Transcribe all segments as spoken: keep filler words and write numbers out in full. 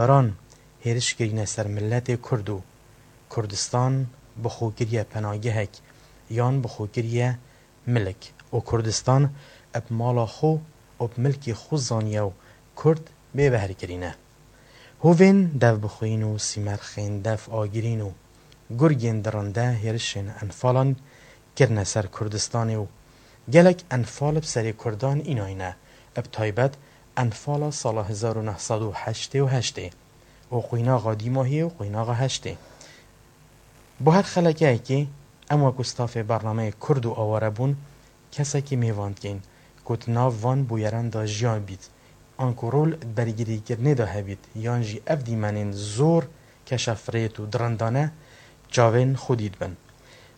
Caran hêriş kirîne ser miletê Kurd û Kurdistan bi xwe kiriye penagehek yan bi xwe kiriye milik û Kurdistan bi mala xwe û bi milkê xwe zaniye û Kurd bêbehr kirîne. Hovên devbixwîn û sîmerxên dev agirîn û gurgên dirinde hêrişên Enfalan kirine ser Kurdistanê û gelek Enfal bi serê Kurdan înayne, bi taybet Enfala sala hezar û neh sed û heştê û heştê û qwînaxa dîmahiyê û qwînaxa heştê. Bo her xelekeyekê em wekû stafê bernameyê Kurd û Awarebûn kesekî mêvan dikeyn ku di nav van bûyeran de jiyan bît, anku rol di bergirîkirinê de hebît yan jî ev dîmenên zor keşefirêt û dirindane çavên xwedî dibin.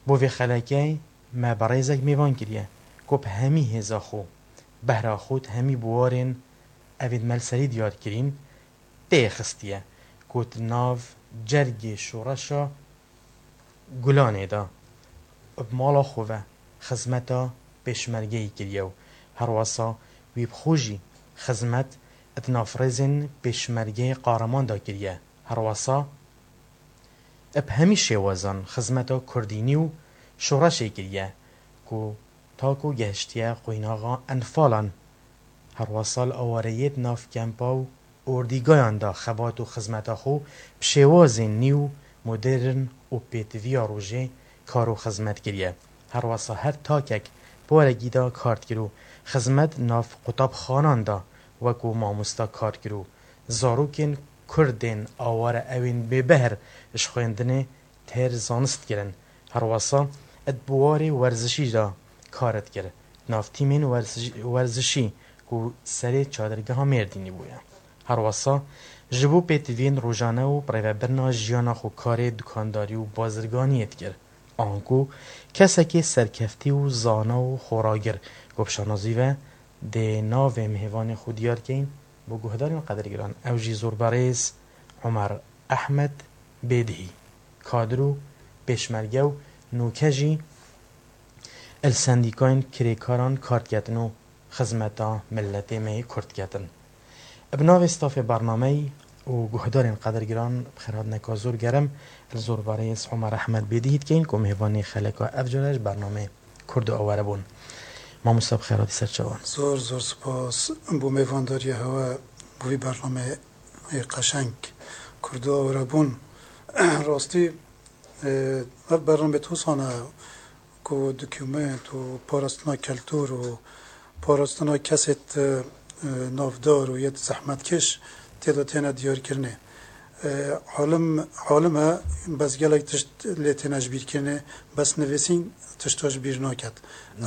Bo vê xelekeyê me berêzek mêvan kiriye ku bi hemî hêza xwe, behra xwe di hemî biwarên evên me li serî diyar kirîn, tê xistiye ku di nav cergê şoreşa Gulanê de bi mala xwe ve xizmeta pêşmergeyî kiriye û herwesa wî bi xwe jî xizmet di nav rêzên pêşmergeyê Qaraman de kiriye. Herwesa bi hemî şêwazan xizmeta kurdînî û şoreşê kiriye ku ta ku gehiştiye qwînaxa Enfalan. Herwesa li awareyê di nav kempa û ordîgayan de xebat û xizmeta xwe bi şêwazên nî û modern û pêtiviya rojê kar û xizmet kiriye. Herwesa her takek porekî de kar dikir û xizmet nav qutabxanan de wekû mamosta kar dikir û zarokên Kurdên aware ewên bêbehr ji xwendinê têr zanist kirin. Herwesa di biwarê werzişî de kar dikir. Nav tîmên werzişî, werzişî ku serê çadirgeha Mêrdînî bûye. Herwesa ji bo pêtiviyên rojane û birêvebirina jiyana xwe karê dukandarî û bazirganiyê dikir. Anku kesekê serkeftî û zana û xoragir ku bi şanazî ve dê navê mêvanê xwe diyar keyn bo guhdarên qedirgiran. Ew jî zorberêz Omer Ehmed Bêdihî, kadir û pêşmerge û nûke jî li sendîkayên kirêkaran kar diketin û xizmeta miletê me yê Kurd diketin. Bi navê stafê bernameyî û guhdarên qedirgiran bi xêrhatineka zor germ li zorbarêz Omer Ehmed Bêdihî dikeyn ku mêvanê xeleka ev care ji bernameyê Kurd û Aware bûn. Mamosta bi xêr hatî ser çavan. Zor, zor spas bo mêvandariya hewe, bo vî bernameyê qeşeng Kurd û Aware bûn. Rastî, e, ev bername tosane ku dokument û parastina keltûr û parastina kesêt, e, navdar û yê zehmetkeş tê de têne diyarkirinê. E, alim, alim e, bes gelek tişt lê têne ji bîr kirinê, bes nivîsîn tişta ji bîr naket.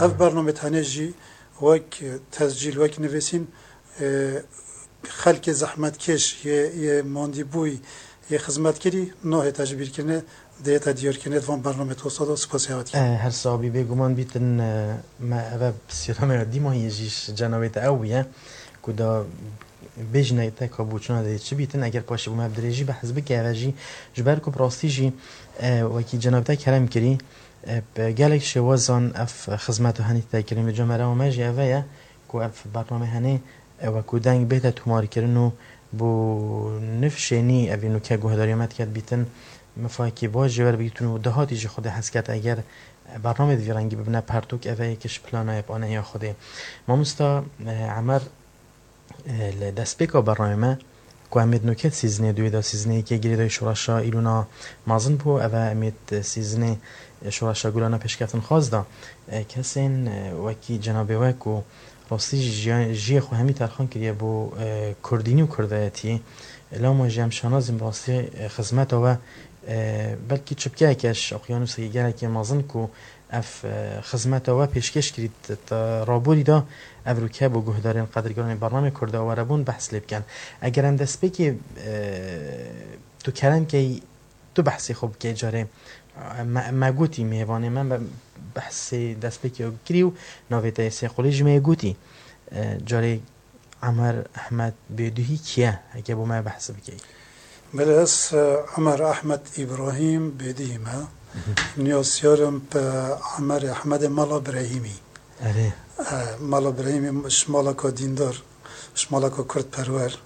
Ev bername tenê jî wek tescîl, wek nivîsîn, e, xelkê zehmetkeş, yê, yê mandîbûyî, yê xizmetkerî nahête ji bîrkirinê, dihête diyarkirinê di van bernamê tosa de. Spasiya we dikim. E, her sawbî bêguman bîtin, e, me eve pisyara me ya dîmahiyê jî ji cenabê te ew bûye ku da bêjine te ka bo çûna dê çi bîtin, eger paşê bo me bi dirêjî behs bike eve jî, ji ber ku bi rastî jî, e, wekî cenabê te kerem kirî, e, bi gelek şêwazan ev xizmeta henî te kirin. Vê camera me jî eve ye ku ev bername henê, e, wekû deng bête tomarkirin û bo nifşênî evî nûke guhdarî me diket bîtin, mifakî baş jê werbigîtin û dahatî jî Xwedê hez ket eger, e, bernamê di vî rengî bibine pertûk, eve yek ji plana yê panehiya Xwedê. Mamosta, e, Emer, e, li destpêka bernamê me, ku em ê di nûke sîzinê duyê de sîzinê yekê girêdayî şoreşa Îlûna mezin bû, eve em ê di sîzinê, e, şoreşa Gulana pêşkeftin xwaz de, e, kesên, e, wekî cenabê we ku rastî jî jiya-, jiyê xwe hemî terxan kiriye bo, e, kurdînî û kurdayetiyê. Lama jî em şanazîn bi rastî, e, xizmeta we, e, belkî çipkeyeke ji oqyanûsekî gelekî mezin ku ev, e, xizmeta we pêşkêş kirî, t-, t-, raborî de ev rûke bo guhdarên qedirgiranê bernamê Kurd û Aware bûn behs lê bikin. Eger em destpêkê, e, tu kerem key, tu behsê xwe bikey carê. Me, me gotî mêvanê me, me behsê destpêkê kirî û navê te yê sêqolî jî me yê gotî. E, carê Emer Ehmed Bêdihî kî ye? Heke bo me behs bikey. Belê, ez, e, Emer Ehmed Îbrahîm Bêdihî me. Niyasiyar im bi Emer Ehmedê Mala Brehîmî. Erê. E, Mala Brehîmî ji malaka dîndar, ji malaka kurdperwer.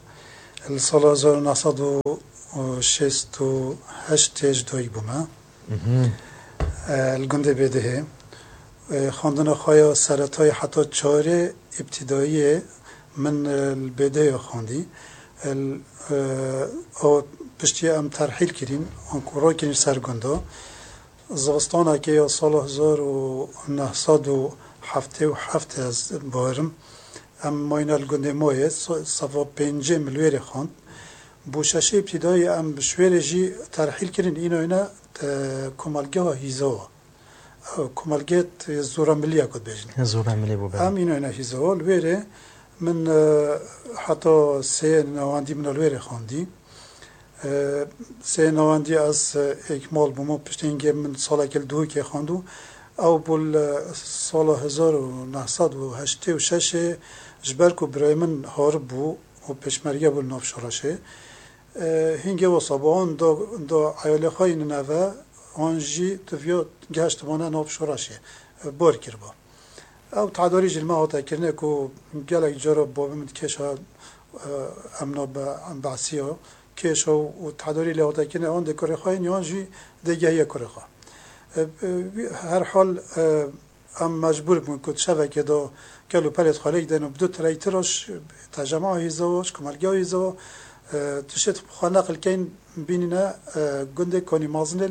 Li sala hezar û neh sed û şêst û heştê ji dayik bûme. E, li gundê Bêdihê. E, xwendina xwe ya seretayê heta çarê îbtîdayiyê min, e, li Bêdihê xwendî. E, l-, e, ew piştî em terhîl kirîn, anku rokirîn ser gunda. Zivistanekê ya sala hezar û neh sed û heftê û heft ez bawerim. Em mayne li gundê Moyê, so-, sava pêncê min li wêrê xwend. Bo şeşê îbtîdayî em bi şwêrê jî terhîl kirin, înoyne, e, komelgeha Hîzawa. Ew komelgê t-, Zora Milî ya ku dibêjin. Zora Milî bû, belê. Em înoyne Hîzawa. Li wêrê min, e, heta sê newandî min li wêrê xwendî. E, sê newandî ez, e, êkmal bûm û piştî hingê min salekê li Duhokê xwend û ew bû li sala hezar û neh sed û heştê û şeşê ji ber ku birayê min harib bû û pêşmerge bû li nav şoreşê. E, hingê wisa bû, wan da, da eyalê xwe yî neve, wan jî diviya gehiştibûne nav şoreşê, e, bor kiriba. Ew tedarî jî li me hate kirine ku gelek cara bavê min dikêşa, e, emna be-, behsiya kêşa û tedarî lê hate kirine, wan dê kurê xwe yên yan jî dê gehiye kurê xwe. E, e, wî-, her hal, e, em mecbûr bûn ku di şevekê de kel û pelê xwe lê gidin û bi du tirey tira ji tecema Hîzawa, ji komelgeya Hîzawa, e, tiştê xwe neqil keyn bînîne, e, gundê Konî Mazinê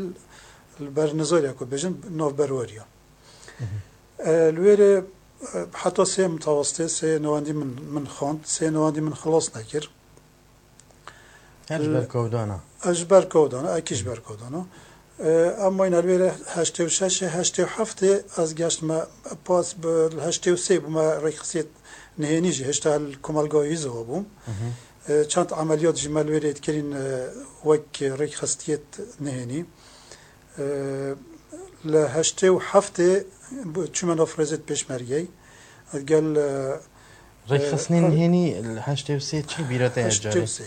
li ber Nizoriya ku bêjin navberweriya. E, li wêrê, e, heta sê min tawastê, sê newandî min, min xwend, sê newandî min xilas nekir. Her ji ber kewdana. Ez ji ber kewdana, ekî ji ber kewdana. E, em mayne li wêrê heştê û şeşê, heştê û heftê ez geştime pas bi heştê û sê bûme rêkxisiyê nihênî jî, hêşta li komelga Hîzawa bûm. E, çend emeliyat jî me li wêrê dikirîn, e, wek rêkxistiyê nihênî. E, li heştê û heftê bu-, çûme nav rêzê pêşmergeyê. Gel, e, Rêkxistinên e, nihênî li heştê û sê çi bîra te ye carê? Heştê û sê.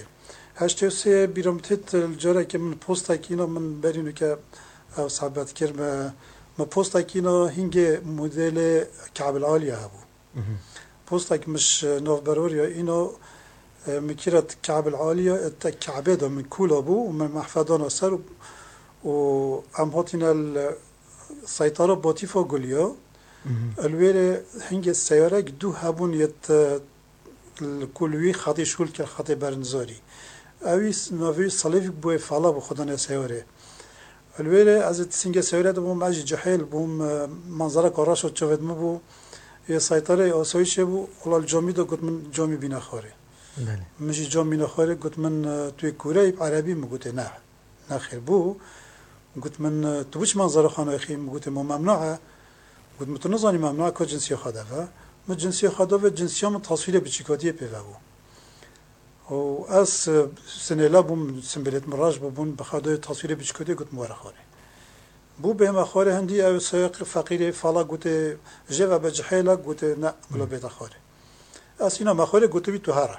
Heştê û sê bîra min têt, li carekê min postekî îna min berî nûke ew sebet kir. Me, me postekî îna hingê modêlê Kabil Aliye hebû. Postek min ji navberweriya îno, e, min kira Kabil Aliya, e, te Kabe de min kûla bû û min mehfedana ser û, û em hatine li seytara Batîfa Guliya. Li wêrê hingê seyarek du hebûn yê te li ku li wî xetî şûl kir, xetê Bernizorî. Ewî s-, navê wî Salêvîk bûyê fala bû xwedana seyarê. Li wêrê ez ê singê seyarê de bûm, ez jî cihêl bûm, e, manzereka reş û çavêt min bû. Yê seytarê asayîşê bû, wela li camî de got min camî bîne xwarê. Belê. Min jî cam bîne xwarê, got min, e, tu yê kûre yî, bi erebî? Min gotê ne. Nexêr bû. Got min, e, tu biçi manzara xwe naxî? Min gotê ma memnua e. Got min tu nizanî memnua e, ka cinsiyê xwe de ve. Min cinsiyê xwe da ve, cinsiya min taswîrê biçîkatiyê pê ve bû. Û ez, e, sinêla bûm, simbêlêt min reş bûbûn, bi xwe da taswîrê biçîkatiyê, got min were xwarê. Bû bêhme xwarê, hindî ew seyaq feqîrê fala gotê, jê ve be cihêla, gotê ne, bila bête xwarê. Ez îna me xwarê, gotibî tu here.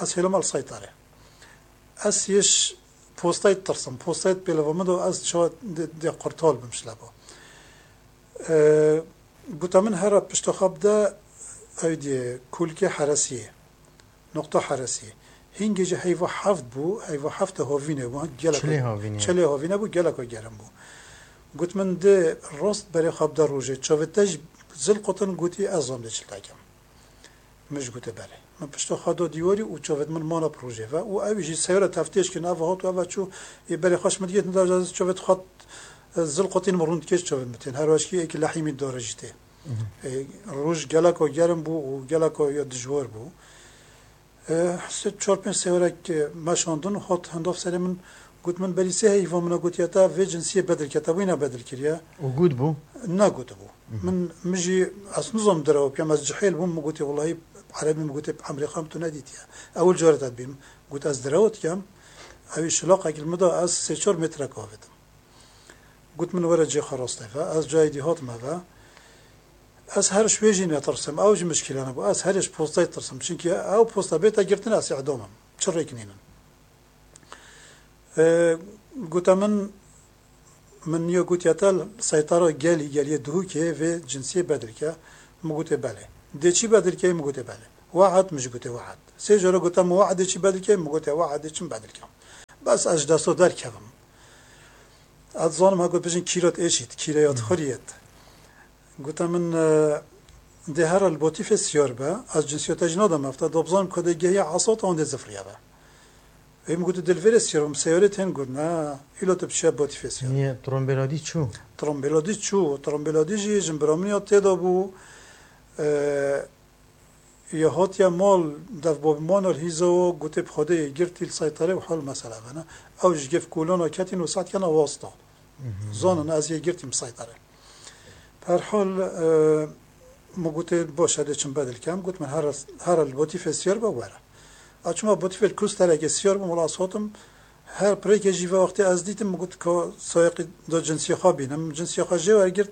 Ez hêlima li seytarê. Ez yê ji postayê ditirsim. Postayê pêlava min do, ez çawa dê, dê qurtal bim ji leba. E, gota min here pişta xwe bide, ew diyê kulkê heresiyê. Noqta heresiyê. Hingê jî heyva heft bû, heyva heft de havîne bû, gelek Çilê havîne. Çilê havîne bû, geleka germ bû. Got min dê rast berê xwe bide rojê. Çavê te jî zil qutin, gotî ez zam dê çil te kem. Min jî gote belê. Min pişta xwe da dîwarî û çavêt min mana bi rojê ve û ew jî seyara teftêş kirin, ev hat û ev çû, ê berê xwe ji min digihîtin, da ez çavêt xwe, e, zil qutîn min rûn dikê, çavêt min tên. Her weşkî êkî lehî min dare jî tê. E, roj geleka germ bû û geleka ya dijwar bû. E, sê çar pênc seyrek, e, meşandin, hat hindav serê min, got min, berî sê heyva min a, gotiye te vê cinsiyê bedil ke, te wî ne bedil kiriye. Û got bû? Ne gotibû. Min, min jî ez nizam derew bikêm, ez cihêl bûm, min gotê, wellahî erebî, min gotê, bi emrê xwe min tu nedîtiye. Ewil carê te dibînim. Got ez derew dikem, ewî şilaqek li min da, ez sê çar metrek avêtim. Got min were cê xwe rastê ve, ez cayê dî hatime ve. Ez her ji wê jî netirsim, ew jî mişkîle nebû. Ez herê ji postayê tirsim. Çimkî ew posta bête girtin, ez îdam im. Çi rêk nînin. E, gote min, min niyo gotiye te seytara gelî, geliyê Duhokê vê cinsiyê bedil ke. Min gotê belê. Dê çî bedil keyê? Min gotê belê. We'd, min jî gotê we'd. Sê cara gote min we'dê çi bedil key, min gotê we'dê çi min bedil kem. Bes ez ji destê derkevim. Ez dizanim heko bijin kîrot êşît, kîreyot xuriyet. Gote min, e, dê here li botîfê siyar be, ez cinsiyeta jî nadem efta, da bizanim ku dê gehiya esot an dê zifriya be. Ê min gotu dê li vêrê siyar bim, seyarê tên got, ne, îlo tu biçiya botîfê siyar. Niye, trombêladî çû? Trombêladî çû, trombêladî jî jin bira min ya tê de bû, e, ya hatiye mal, dev bavê man li hîza û gotê bi Xwedê yê girtî li seytere û hal mesele bene. Ew ji gef kolana ketîn û sed kena wasta. Zanin ez yê girtîm seytere. Bi her hal, e, min gotê baş e dê çim bedil kem. Got min here, here li botîfê siyar be were. A çima botîfê li kusterekê siyar bûm, wela sotim her pirêkê jî ve wextê ez dîtim, min got ka sayeqî da cinsiyê xwe bînim. Cinsiyê xwe jê wergirt,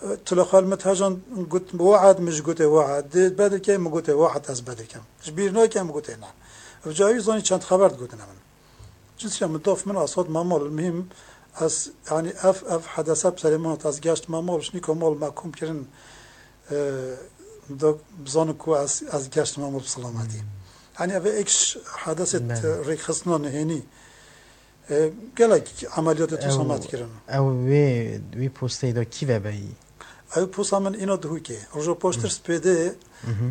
e, tila xwe li min tejan got we'd, min jî gotê we'd. Dê bedil key, min gotê we'd ez bedil kem. Ji bîr nake, min gotê ne. Ev cayî zanî çend xeber digotine min. Cinsiya min dof min asot mamol. Mihim ez, yani ev, ev hedese bi serê min hat, ez geşt mamol, şnîko mol me kom kirin, e, do bizanin ku ez, ez geşt mamol bi selametî. Yani ev ek ş-, hedeset, e, rêkxistina nihênî. E, gelek emeliyatê tu samet kirin. Ew wê, wî posteyê de kî vebeyî? Ew posta min îna Duhokê. Roja paştir spêdê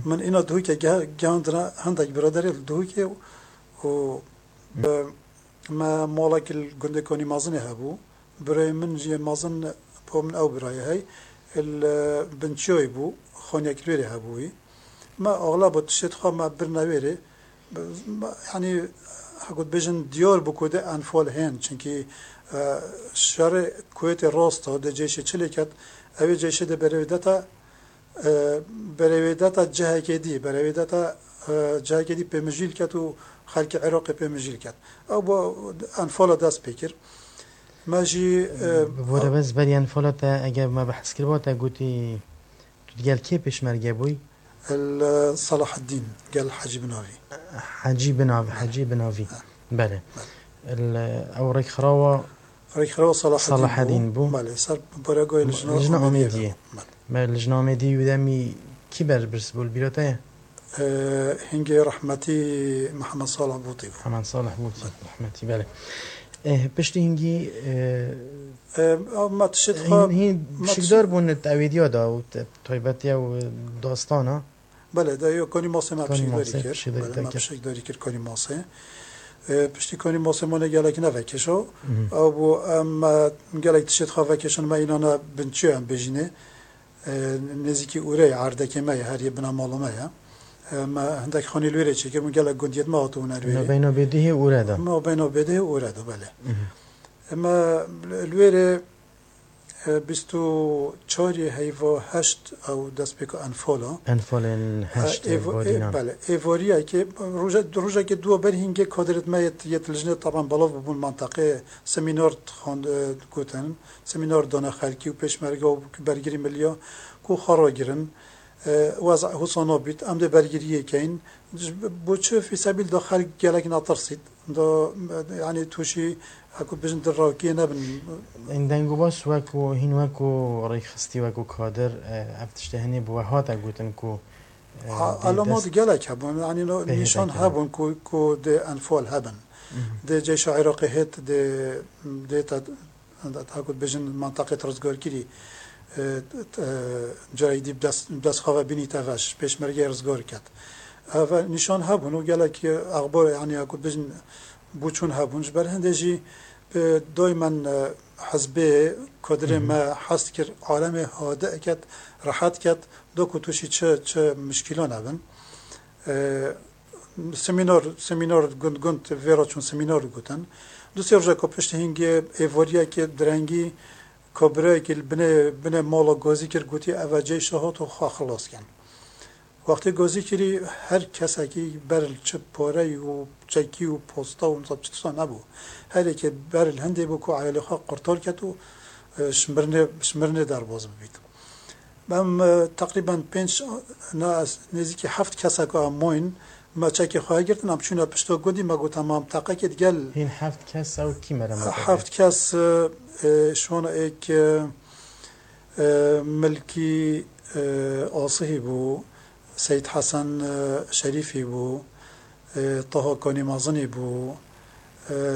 min îna Duhokê ge-, gehandine hindek biraderê li Duhokê û Bi me malekî li gundê Konî Mazinê hebû. Birayê min jî yê mezin bo min ew birayê hey. Li Binçiyoyê bû, xaniyek li wêrê hebûyî. Me axleba tiştê xwe me birine wêrê. Bi-, me, yanî, heko dibêjin diyar bû ku dê enfal hên. Çunkî, e, şerê Kuwêtê rast e, dê ceyşê çi lê ket, ew ê ceyşê dê berê wê dete, E, berê wê deta cihekê dî, berê wê deta, e, cihekê dî pê mijîl ket û xelkê Iraqê pê mijîl ket. Ew bo enfala dest pê kir. Me jî, e, Bi bo re bes berî enfala te, eger me behs kiriba te gotî, tu digel kê pêşmerge bûyî? El, e, Salaheddîn, gel Hecî Binavî. Hecî Binavî, Hecî Binavî. Belê. El, e, ew rêkxirawa Rêkxirawa Salaheddîn Salaheddîn bû. Belê, ser baregoyê Lijna Lijna Amêdiyê Amêdiyê. Belê. Me Lijna Amêdiyê wî demî kî berpirs bû li bîra te ye? Ee, hingê rehmetî Mihemed Salih Bûtî bû. Mihemed Salih Bûtî, rehmetî, belê. Eh, piştî hingî, eh, Ee, me tişt xwe, hîn, hîn me pişikdar tişt- bûn di ewêdiya de û te-, taybetiya û dastana. Belê, de yo konî masê me Konî pişikdarî masê kir. Pişikdarî Belê, te me kir. Pişikdarî kir konî masê. E, piştî konî masê mane gelek ne vekêşo. Mhm. Ew bû, em, e, gelek tiştê xwe vekêşin me înane Binçiyo em bêjînê. E, nêzîkî Ûreyê, erdekê me ye, her yê bina mala me ye. E, me hindek xanî li wêrê çêkir, min gelek gundiyêt me hatibûn her wêrê. Nabeyna Bêdihê Ûre de. Nabeyna Bêdihê Ûre de, belê. Mhm. E, me li wêrê E, bîst û çarê heyva heşt ew destpêka enfala. Enfalên E, heşt êvo-, e, Godînan. Belê, êvariyekê, roje-, rojekê duwa ber hîngê kadirêt me yêt, yêt lijnê taban belav bûbûn menteqê semînar dixwend-, e, digotin. Semînar dane xelkî û pêşmerge û bergirî milliya ku xwe ragirin. E, weza husa nabît, em dê bergiriyê keyin. Ji bo çi fîsebîl da xelk gelek netirsît. Da, yani, tûşî, heko bijin di rawkiyê nebin. Ên dengûbas wekû, hîn wekû rêkxistî, wekû kadir, e, ev tiştê hinê bi we hate gotin ku, e, A-, dê elamat dest gelek hebûn, yani, no, Pê nîşan hêdekê hebûn ku, ku dê enfal hebin. Mhm. Dê ceyşa Iraqê hêt, dê, dê te Heta ku dibêjin menteqê rizgarkirî, e, e, cayî dî bi dest, bi dest xwe ve bînî te ve, ji pêşmergeyê rizgar ket. Ev nîşan hebûn û gelek, e, exbar, yanî ya ku dibêjin bûçûn hebûn. Ji ber hindê jî, e, daymen, e, hizbê, kodirê Hı hı. me hez dikir alemê hade ket, rehet ket, da ku tûşî çi, çi mişkîlan hebin. E, Semînar, semînar gund gund vê re çûn, semînar gotin. Du sê rojeka piştî hingê êvariyekê direngî kabirayekî li binê, binê mala gazî kir, gotî, "Ev e ceyşa hat û xwe xilas kin." Wextê gazî kirî, her kesekî ber li çi pareyî û çekî û posta û nizam çi tişta nebû. Her yekê ber li hindê bû ku eyalê xwe qurtar ket û, e, ji mirinê, ji mirinê derbas bibît. Em, e, teqrîben pênc, na, nêzîkî heft kesek a moyn, me çekê xwe girtin, em çûne pişta gundî, me got, "Em, em teqekê digel." Hîn heft kes ew kî mere me Heft kes, e, e, şona êk, e, e, Milkî, e, Asihî bû, Seyîd Hesen, e, Şerîfî bû, e, Toho Konî Mezinî bû, e,